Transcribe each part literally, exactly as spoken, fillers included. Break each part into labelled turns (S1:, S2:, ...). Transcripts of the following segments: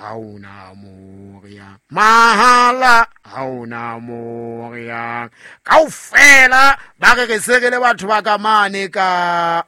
S1: ha ona mo re yang, mahala ha ona mo re yang. Kaofela ba re re se re le batho ba ka mane ka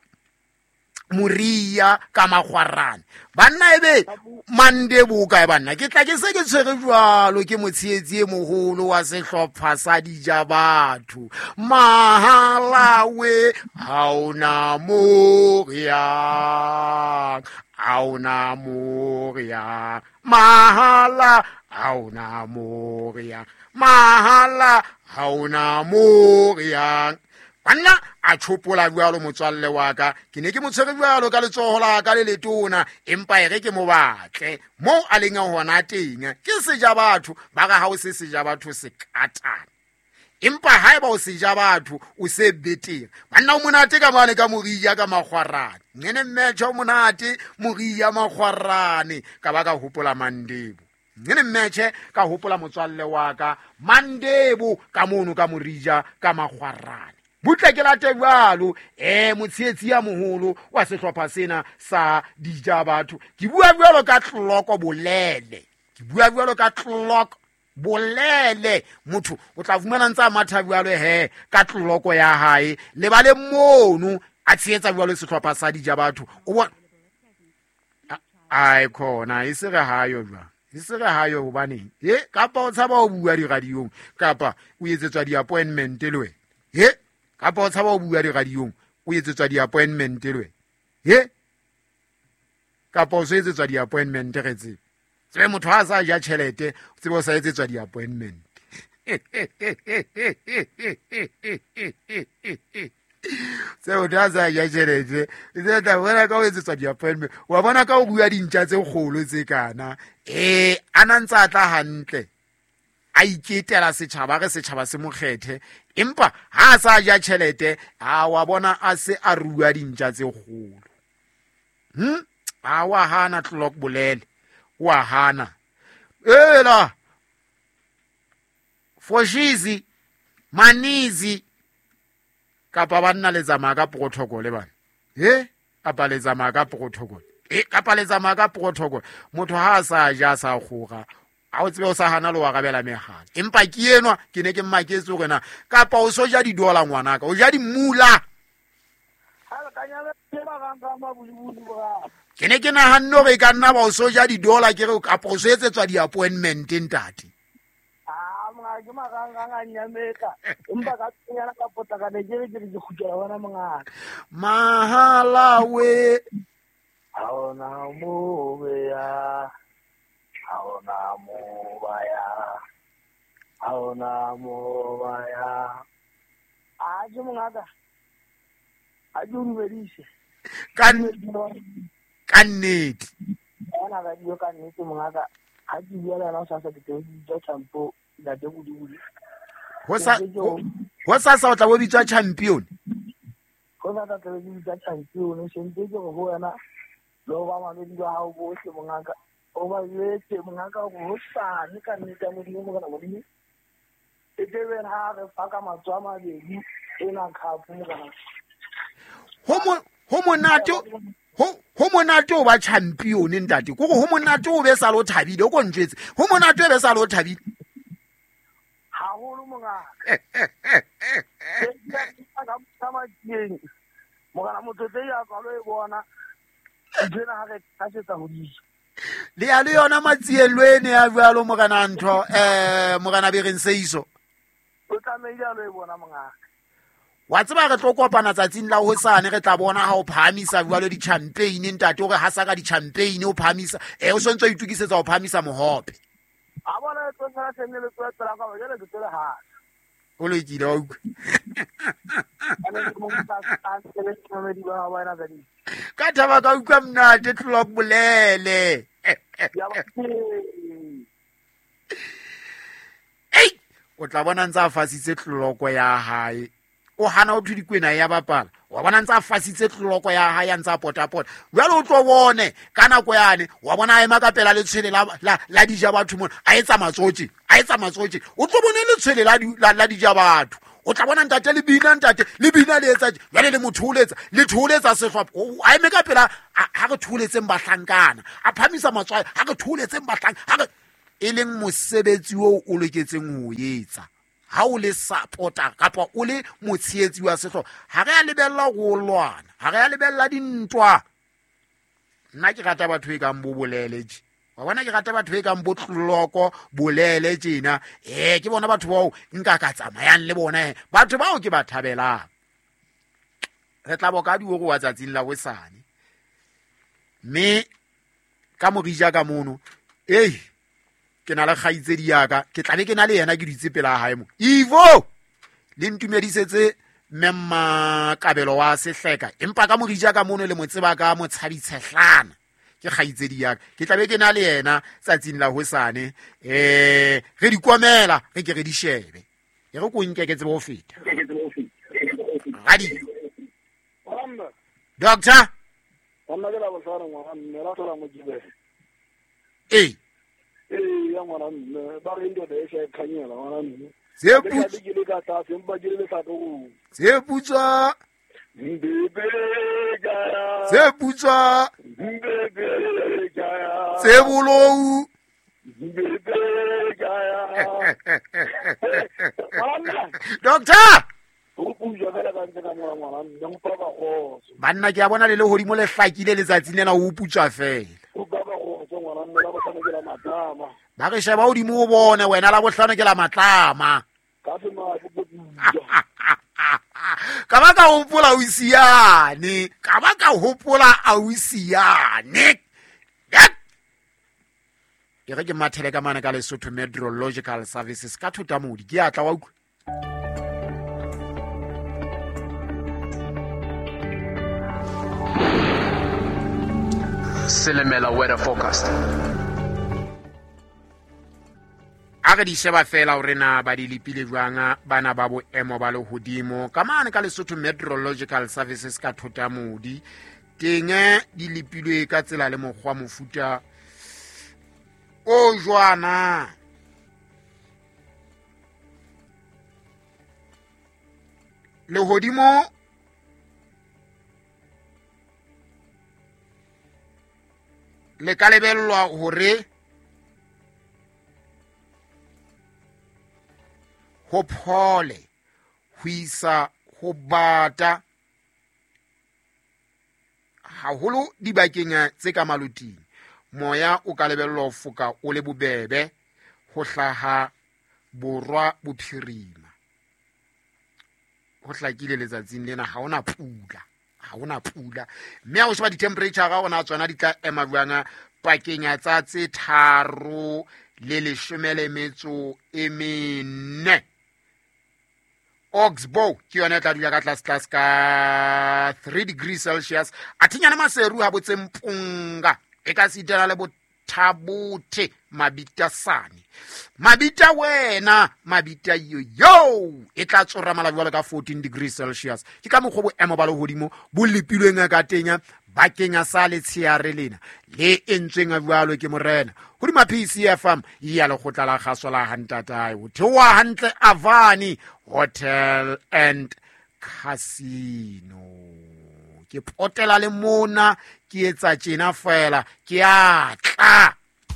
S1: Moria ka Makgwarane. Banna ebe Mandebo kae banna? Ke tla ke se ke tshwere jwalo ke motshehetsi e moholo wa sehlopha sa dija batho. Mahala we ha ona mo re yang, ha ona mo re yang, mahala ha ona mo re yang, mahala ha ona mo re yang. Banna a tshopola jwalo motswalle wa ka, ke ne ke mo tshwere jwalo ka letsoho la ka le letona, empa e re ke mo batle moo a leng hona teng. Ke seja batho ba re ha o se seja batho se katana, empa haeba o seja batho o se betere. Banna o monate ka mane ka Moria ka Makgwarane, ngene mmetjha o monate Moria Makgwarane. Ka ba ka hopola Mandebo, ngene mmetjhe ka hopola motswalle wa ka Mandebo ka mono ka Moria ka Makgwarane. Butle ke late jwalo eh motshehetsi ya moholo wa sehlopha sena sa dija batho. Ke bua jwalo ka Tloko Bolele, ke bua jwalo ka Tloko Bolele. Motho o tla fumana ntsa matha jwalo he ka tloko ya hae le ba le mono a tshehetsa jwalo sehlopha sa dija batho. O bona ai khona e se re hayo jwang, e se re hayo hobaneng e kapa o tshaba o bua diradiong kapa o etsetswa di-appointment le wena he kapa o tshaba o bua diradiong o etsetswa di-appointment le wena he kapa o so etsetswa di-appointment re tsebe tsebe motho ha a sa ja tjhelete o tsebe o sa etsetswa di-appointment. Tse motho ha sa ja tjhelete tse tla bona ka o etsetswa di-appointment, wa bona ka o bua dintja tse kgolo tse kana eh a na ntse a tla hantle a iketela setjhaba re setjhaba se mokgethe, empa ha a sa ja tjhelete a wa bona a se a rua dintja tse kgolo. Hm a wa hana Tloko Bolele, wa hana ela Foshizi Manizi kapa banna le tsamaya ka protocol bana he kapa le tsamaya ka protocol e kapa le tsamaya ka protocol. Motho ha a sa ja sa kgora a o tsebe o sa hana le wa rabela mehala, empa ke enwa ke ne ke mmaketse hore na kapa o so ja didola ngwanaka o ja dimula. Ke ne ke nahanne hore e ka nna ba o so ja didola ke re kapa o so etsetswa di-appointment ntate.
S2: Ke marangrang a nyametla empa ka tsena ka potlaka ne ke re ke ke kgutlela bona mongaka.
S1: Mahala we
S2: ha ona mo be ya, ha ona mo ba ya, ha ona mo ba ya. A je mongaka a ke o dumedise
S1: ka ka nnete
S2: ona ga dio ka nnete mongaka. Ha ke bua le wena o sa sa ke teng ja champo ntate Bodibodi.
S1: Ho sa ho sa sa o tla bo bitswa champion.
S2: Ho sa tla tla bitswa champion sentse ke go ho wena le ba mamedi ba hao bohle mongaka. O ba jwetse mongaka hore hosane ka nnete ya Modimo morena Modimo e tle ha re fa ka matsoho a mabedi ena cup morena.
S1: Ho mo ho monate ho ho monate o ba champion ntate. Ke gore ho monate o be sa lo thabile o ko ntjwetse. Ho monate o be sa lo thabile
S2: haholo mongaka. Morena motho tse ya tswalo e bona nthwena ha re thasetsa hodimo.
S1: Le ya le yona matsielweni ya jwalo morena ntho eh morena Bereng Seiso.
S2: O tlamehile a lo e bona mongaka.
S1: Wa tseba re tlo kopana tsatsing la hosane re tla bona ha o phahamisa jwalo di-champagne ntate o re hasa ka di-champagne o phahamisa eh o sontse o itukisetsa ho phahamisa mohope.
S2: A bona e tlo tshwana sene le tswa tsela ka jwale ke tsela ha.
S1: O lokile wa utlwa. Ka thaba ka utlwa monate Tloko Bolele. Ei, o tla bona ntse a fasitse tloko ya hae. O hana o thwe dikwena ya bapala. Wa bona ntse a fasitse tloko ya hae ya ntse a potapota. Jwale o tlo bone ka nako yane wa bona a ema ka pela letshwele la la la dija batho mona a etsa matsotsi, a etsa matsotsi. O tlo bone letshwele la la la dija batho. O tla bona ntate le bina ntate le bina le etsa jwale le mo thoholetsa le thoholetsa sehlopha a eme ka pela ha re thoholetseng bahlankana a phamisa matswai ha re thoholetseng bahlanka ha re e leng mosebetsi oo o loketseng ho etsa ha o le supporter kapa o le motshehetsi wa sehlopha. Ha re a lebella go lwana, ha re a lebella dintwa. Nna ke rata batho e kang bo bolele tje, wa bona, ke rata batho e kang bo tloloko bolele tjena. Eh ke bona batho bao nka ka tsamayang le bona, batho bao ke ba thabelang. Re tla boka dioro wa tsatsing la hosane mme ka morija ka mono ei ke na le kgaitsedi ya ka, ke tla be ke na le yena ke ditse pela hae mo. Ivo le ntumedisetse mme Kabelo wa Sehleka, empa ka morija ka mono le mo tseba ka motshabitshehlana ke kgaitsedi ya ka, ke tla be ke na le yena tsatsing la hosane. Eh re di komela re ke re di shebe e re ko nke ke tsebe ho feta radio. Doctor eh
S2: eh ya ngwana mme ba re ndoda e sa khanyela ngwana mme
S1: tse putswa tse putswa tse bolou. Doctor banna ke a bona le lehodimo le hlakile letsatsing lena o putswa fela. Ba re sheba hodimo o bone wena la bohlano ke la matlama. Ka ba ka hopola o siane, ka ba ka hopola a o siane. E re ke mathele ka mane ka Lesotho Meteorological Services ka Thotamodi ke atla wa utlwa.
S3: Silimela weather forecast.
S1: A re di sheba fela hore na ba di lepile jwang bana ba boemo ba lehodimo ka mane ka Lesotho Meteorological Services ka Thotamodi. Teng di lepilwe ka tsela le mokgwa mofuta o jwana. Lehodimo le ka lebellwa hore ho phole ho isa ho bata haholo dibakeng tse ka maloting. Moya o ka lebellwa ho foka o le bobebe ho hlaha borwa bophirima. Ho hlakile letsatsing lena ha hona pula, ha hona pula. Mme ha o sheba di-temperature ga ona tsona di tla ema jwang pakeng ya tsa tse tharo le leshome le metso e mene. Oxbow ke yona e tla dula ka tlase tlase ka three degrees Celsius. A thinyana Maseru ha botse Mpunga e ka sitana le Bothabothe Mabitasane. Mabita wena Mabita yo yo e tla tsora mala jwalo ka fourteen degrees Celsius. Ke ka mokgwa boemo ba lehodimo bo lepilweng ka teng bakeng sa letsheare lena le entsweng jwalo ke morena. Hodima P C F M ya lekgotla la kgaso la hantatae ho theoha hantle Avani Hotel and Casino. Ke potela le mona ke etsa tjena fela ke a tla.